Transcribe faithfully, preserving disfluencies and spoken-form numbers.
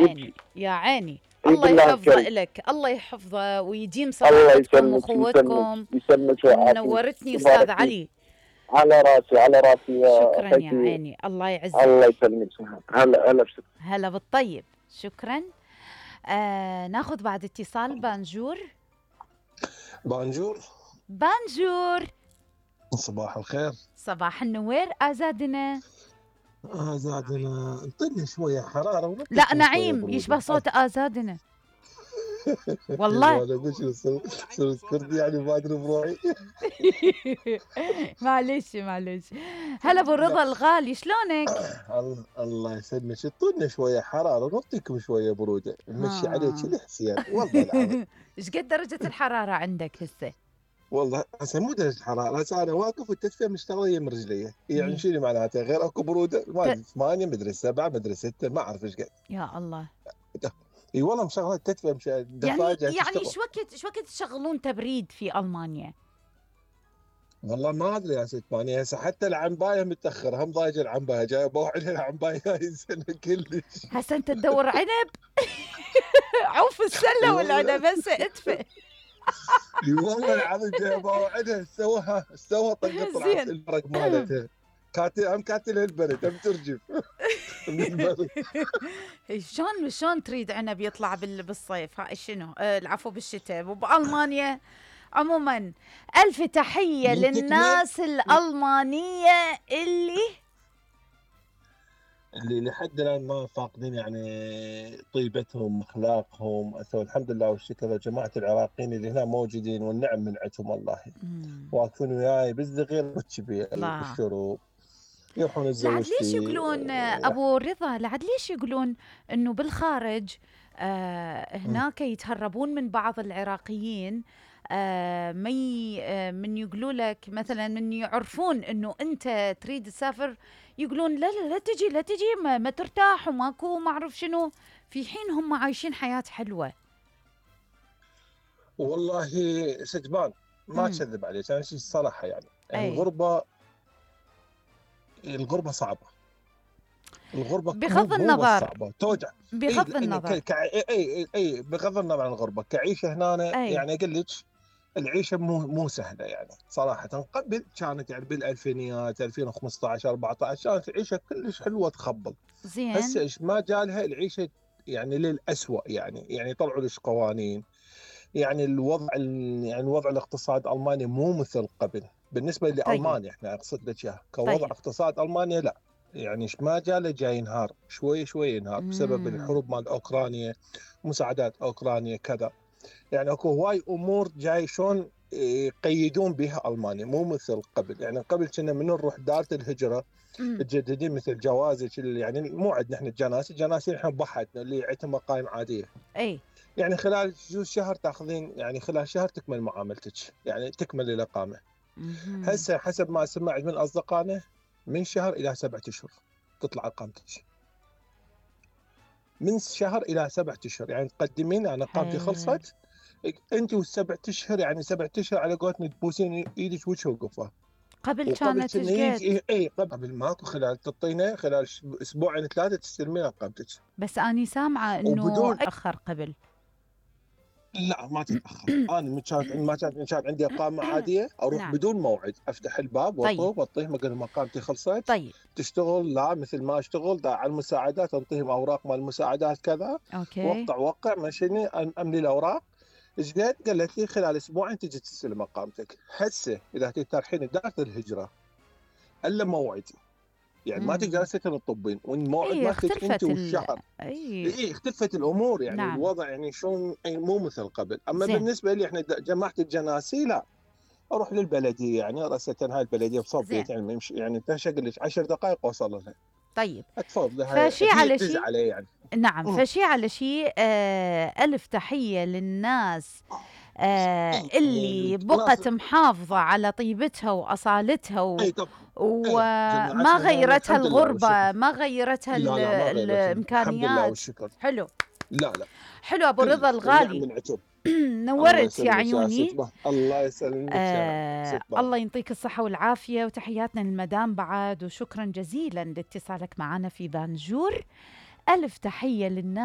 عيني يا عيني. عيد الله الله يحفظه الكريم. إلك، الله يحفظه ويديم الله صداقتكم يسلمك وأخوتكم. يسلمك يسلمك ويعافيك. نورتني أستاذ تبارك فيك. علي. على راسي على راسي يا شكرا يا اخيتي. عيني، الله يعزك. الله يسلمك. هلا هلا بشكرك. هلا بالطيب، شكرا. آه ناخذ بعد اتصال. بانجور. بانجور. بانجور. صباح الخير. صباح النوير آزادنا. آزادنا انطيني شوية حرارة. لا نعيم يشبه صوت آزادنا. والله انا اقول شو صرت كردي يعني ما ادري بروحي. معلش معلش. هلا ابو رضا الغالي، شلونك؟ الله يسلمك. اعطونا شويه حراره نعطيكم شويه بروده نمشي عليك الحسين والله العظيم. ايش قد درجه الحراره عندك هسه؟ والله هسه مو درجه الحراره، هسه انا واقف والتدفئه مشتغله من رجلي، يعني شنو معناته؟ غير اكو بروده ما ادري ثمانية مدري سبعة مدري ستة ما اعرف ايش قد. يا الله. اي والله مشغله التدفئه مش يعني يعني شو وقت شو وقت تشغلون تبريد في المانيا؟ والله ما ادري يا ست ماني. هسه حتى العنبايه متاخره، هم ضايجه العنبايه جايه بوعد العنبايه هاي السنه كلش. هسه انت تدور عنب؟ عوف السله والعنب هسه ادفئ. اي والله العظيم جايه بوعدها سوها سوها طقت طلعت الورق مالتها. كاتل هم كاتل البرد هم ترجف. شلون شلون تريد عنب يطلع بالصيف؟ ها شنو؟ آه العفو بالشتاء وبألمانيا. عموما ألف تحية للناس الألمانية اللي اللي لحد الآن ما فاقدين يعني طيبتهم أخلاقهم. الحمد لله والشكر لجماعة العراقيين اللي هنا موجودين والنعم من عندهم والله. واقفون وياي بالصغير والكبير بالشروق يروحون الزوج. لعد ليش يقولون أبو رضا، لعد ليش يقولون إنه بالخارج آه هناك يتهربون من بعض العراقيين؟ آه مي آه من يقولوا لك مثلا من يعرفون انه انت تريد تسافر يقولون لا لا لا تجي لا تجي ما, ما ترتاح وماكو ما اعرف شنو، في حين هم عايشين حياة حلوة. والله سجبان ما اكذب عليك انا شيء الصراحة يعني أي. الغربة الغربة صعبة. الغربة بغض النظر صعبة توجع بغض أي النظر ك... اي اي اي بغض النظر عن الغربة كعيشة هنا أي. يعني اقول لك العيشه مو مو سهله يعني صراحه. قبل كانت يعني بالالفينيات ألفين وخمسة عشر أربعة عشر كانت العيشه كلش حلوه تخبل. زين هسه ايش ما جالها العيشه يعني للأسوأ يعني يعني طلعوا لش قوانين. يعني الوضع يعني الوضع الاقتصاد المانيا مو مثل قبل بالنسبه لالمانيا. طيب. احنا اقصد لك اياها كوضع طيب. اقتصاد المانيا لا يعني ايش ما جاله جاي ينهار شوي شوي ينهار بسبب الحروب مال اوكرانيا مساعدات اوكرانيا كذا. يعني اكو هواي امور جاي شلون يقيدون بها المانيا مو مثل قبل. يعني قبل كنا من نروح دارة الهجره تجددين مثل جوازك يعني مو عندنا احنا الجناسي الجناسي احنا بحثنا اللي عندهم مقايم عاديه. اي يعني خلال جوز شهر تاخذين يعني خلال شهر تكمل معاملتك يعني تكمل الاقامه. هسه حسب ما سمعت من اصدقائنا من شهر الى سبعة اشهر تطلع اقامتك. من شهر الى سبعة اشهر يعني تقدمين انا اقامتي خلصت انت والسبع اشهر يعني سبع اشهر على قولتنا تبوسين ايدك وجه وقفه. قبل كانت ايش قد؟ اي قبل ماكو خلال تعطينا خلال اسبوعين ثلاثه تستلمين اقامتك. بس اني سامعه انه اخر قبل. لا ما تتاخر. انا من كانت ما كانت كانت عندي اقامه عاديه اروح نعم. بدون موعد افتح الباب واطوف واعطيه مقال مقامتي خلصت. طيب. تشتغل لا مثل ما اشتغل على المساعدات انطيهم اوراق مال المساعدات كذا. اوكي. وقع وقع مشيني املي الاوراق. ايش قد؟ قالت لي خلال اسبوعين تجي تستلم اقامتك. هسه اذا تروحين دارة الهجره الا موعدي يعني مم. ما تقدر تطبين والموعد أيه مالتك انت والشهر. اي ايه اختلفت الامور يعني نعم. الوضع يعني شلون مو مثل قبل. اما زين. بالنسبه لي احنا جماعه الجناسي لا اروح للبلديه يعني راسه هاي البلديه بصوبيت يعني يمشي يعني تشغل لك عشر دقائق اوصل لها. طيب اتفضل هاي فشي على شيء عليه يعني. نعم مم. فشي على شيء آه ألف تحية للناس آه اللي بقت محافظة على طيبتها وأصالتها و... وما غيرتها الغربة ما غيرتها لا لا ما الإمكانيات. حلو لا لا حلو أبو رضا الغالي نورت يا عيوني. الله يسلمك آه الله ينطيك الصحة والعافية وتحياتنا للمدام بعد وشكرا جزيلا لاتصالك معنا في بانجور. ألف تحية للناس